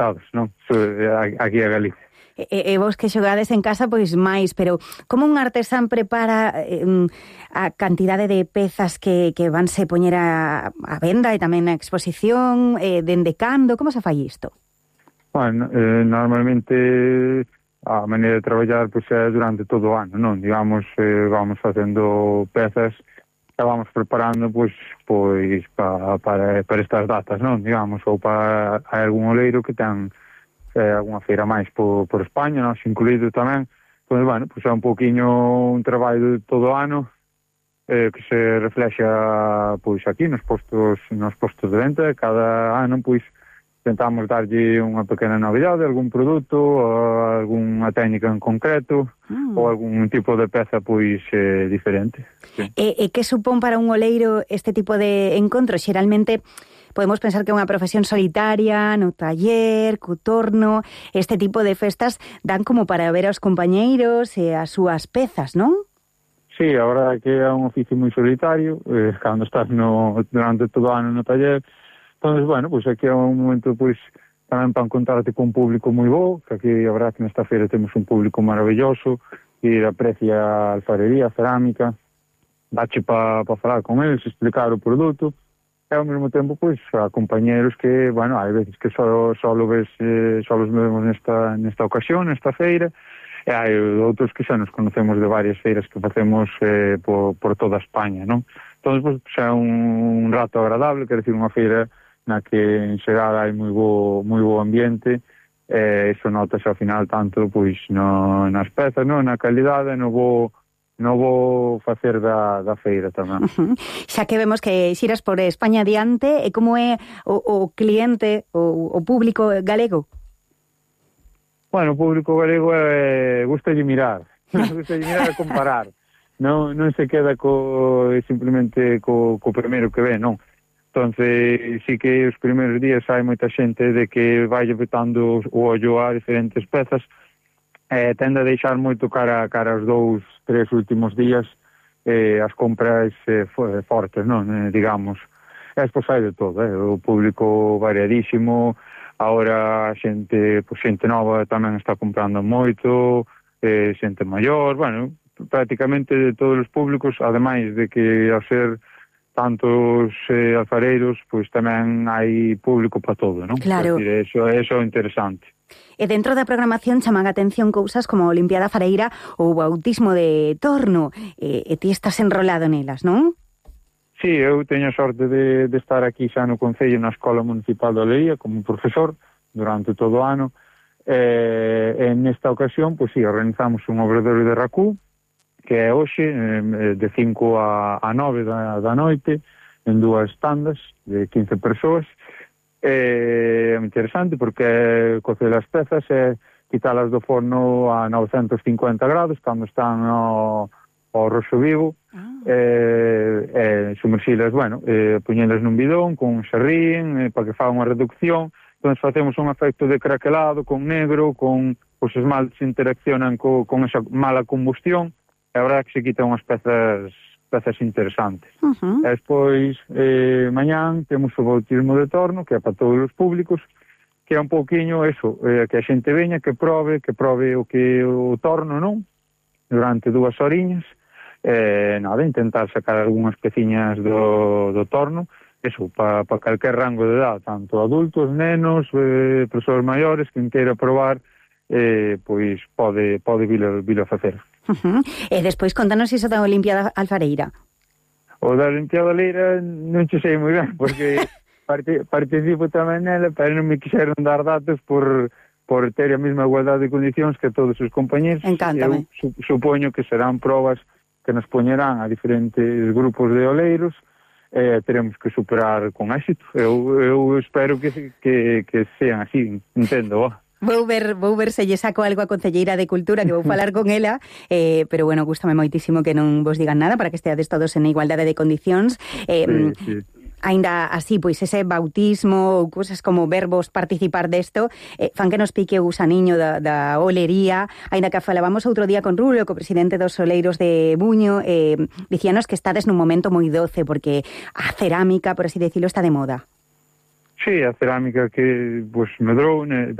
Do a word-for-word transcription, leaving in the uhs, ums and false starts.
afastados, non? Aquí a Galicia. E, e vos que xogades en casa, pois máis, pero como un artesán prepara eh, a cantidade de pezas que, que vanse poñer a, a venda e tamén a exposición, eh, dende cando, como se fai isto? Bueno, eh, normalmente a maneira de traballar pois, é durante todo o ano, non? Digamos, eh, vamos facendo pezas que vamos preparando pois, pois pa, para, para estas datas, non? Digamos, ou para algún oleiro que ten eh, alguna feira máis por, por España, nós incluído tamén. Entón, bueno, pois é un pouquiño un traballo de todo o ano eh, que se reflexa pois aquí nos postos nos postos de venta. Cada ano pois tentamos darlle unha pequena novidade, algún produto, ou algunha técnica en concreto, mm. ou algún tipo de peza pois eh, diferente. Sí. E, e que supón para un oleiro este tipo de encontros? Xeralmente podemos pensar que é unha profesión solitaria, no taller, co torno, este tipo de festas dan como para ver aos compañeiros e as súas pezas, non? Sí, a verdade é que é un oficio moi solitario, eh, cando estás no, durante todo o ano no taller. Entón, bueno, pois aquí é un momento pois tamén para encontrarte con un público moi bo, que aquí a verdade que nesta feira temos un público maravilloso, que aprecia a alfarería, a cerámica, dache para pa falar con eles, explicar o produto. E ao mesmo tempo, pois, a compañeros que, bueno, hai veces que só, só lo ves, eh, só los vemos nesta, nesta ocasión, nesta feira, e hai outros que xa nos conocemos de varias feiras que facemos eh, por, por toda España, non? Entón, pois, xa é un, un rato agradable, quer decir, unha feira na que en xeral hai moi bo, moi bo ambiente, e iso notase ao final tanto, pois, no, nas pezas, non? Na calidade, no bo... non vou facer da, da feira tamén. Uh-huh. Xa que vemos que xiras por España adiante, e como é o, o cliente, o, o público galego? Bueno, o público galego é, gustalle mirar, gustalle mirar e comparar. Non, non se queda co, simplemente co, co primeiro que ve, non. Entonces, sí que os primeiros días hai moita xente de que vai botando o ollo a diferentes pezas, eh, tende a deixar moito cara, cara aos dous, tres últimos días eh, as compras eh, fortes, non? Eh, digamos. E despois hai de todo, eh? O público variadísimo, agora a xente, pues, xente nova tamén está comprando moito, eh, xente maior, bueno, prácticamente de todos os públicos, ademais de que ao ser tantos eh, alfareiros, pois tamén hai público para todo, non? Claro. Decir, eso, eso é interesante. E dentro da programación chaman a atención cousas como a Olimpiada Fareira ou o bautismo de Torno, e, e ti estás enrolado nelas, non? Sí, eu teño a sorte de, de estar aquí xa no Concello, na Escola Municipal de Olería, como profesor, durante todo o ano, e, e nesta ocasión, pois sí, organizamos un obradoiro de Racú, que é hoxe, eh, de cinco a nove da, da noite, en dúas tandas de quince persoas. É interesante porque cocer as pezas e quitalas do forno a novecentos cincuenta grados cando están ao, ao roxo vivo, ah. e, e sumerxilas, bueno, e poñelas nun bidón con un xerrín, e, para que faga unha reducción. Entón facemos un efecto de craquelado con negro, con os esmaltes interaccionan co, con esa mala combustión, e a verdade que se quitan unhas pezas pezas interesantes. Uh-huh. E despois, eh, mañán, temos o bautismo de Torno, que é para todos os públicos, que é un pouquiño eso, eh, que a xente veña, que prove, que prove o que o Torno, non? Durante dúas horiñas, eh, nada, intentar sacar algunhas peciñas do, do Torno, eso, para pa calquer rango de edad, tanto adultos, nenos, eh, persoas maiores, quen queira probar, eh, pois pode, pode vilo, vilo facer. Uh-huh. E despois contanos iso da Olimpiada Alfareira. O da Olimpiada Leira non che sei moi ben, porque parte, participo tamén nela, pero non me quixeron dar datos por, por ter a mesma igualdade de condicións que todos os compañeros. Encántame. Eu su, supoño que serán probas que nos poñerán a diferentes grupos de oleiros, e eh, teremos que superar con éxito. Eu, eu espero que, que, que sean así, entendo, ó. Vou ver, vou ver se lle saco algo a Concelleira de Cultura, que vou falar con ela, eh, pero bueno, gústame moitísimo que non vos digan nada para que esteades todos en igualdade de condicións. Eh, sí, sí. Ainda así, pois ese bautismo ou cousas como verbos participar desto, eh, fan que nos pique o gusaniño da, da olería. Ainda que falábamos outro día con Rulio, co presidente dos Oleiros de Buño, eh, dicíanos que estades nun momento moi doce, porque a cerámica, por así decirlo, está de moda. Sí, a cerámica que pues medrou,